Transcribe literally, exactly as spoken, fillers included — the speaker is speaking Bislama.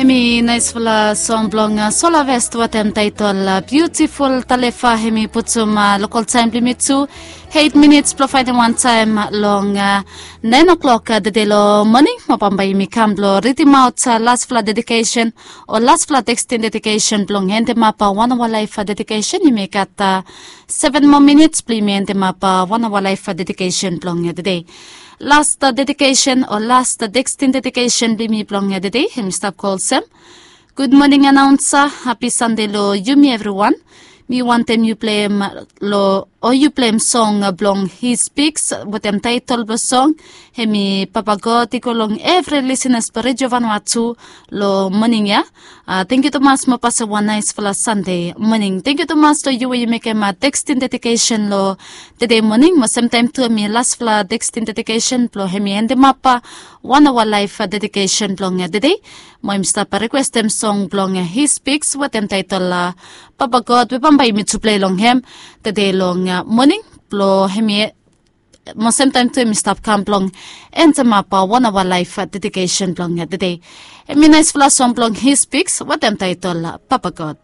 Hemi naisfala song blong sola vest watem taitol biutiful talefa. Hemi putum lokol taem blong yumi tu eit minits blong faenem wan taem long naen oklok tede long moning. Mo bambae yumi kam blong ridimaot lasfala dedikesen o lasfala tekstin dedikesen blong endemap wan aoa laef dedikesen. Yumi gat seven moa minits blong yumi endemap wan aoa laef dedikesen blong tede. Las dedikesen o las tekstin dedikesen blong yumi blong tede hemi stap go olsem. Gud moning anaonsa, hapi sande long yumi evriwan. Mi wantem yu pleim long o yu pleim song blong He Speaks wetem taetol blong song hemi Papa God i go long evri lisenas blong Redio Vanua tu long moning ya. Tengkiu tumas mo pasem wan naesfala sande moning. Tengkiu tumas long yu we yu mekem tekstin dedikesen long tede moning mo semtaem tu hemi lasfala tekstin dedikesen blong hemi endemap wan aoa laef dedikesen blong tede. Mo yumi stap rikwestem song blong He Speaks wetem taetol Papa God we bambae yumi tu plei long hem tede long moning blong hemi mo semtaem tu hemi stap kam blong endemap wan aoa laef dedikesen blong tede. Hemi naesfala song blong He Speaks wetem taetol Papa God.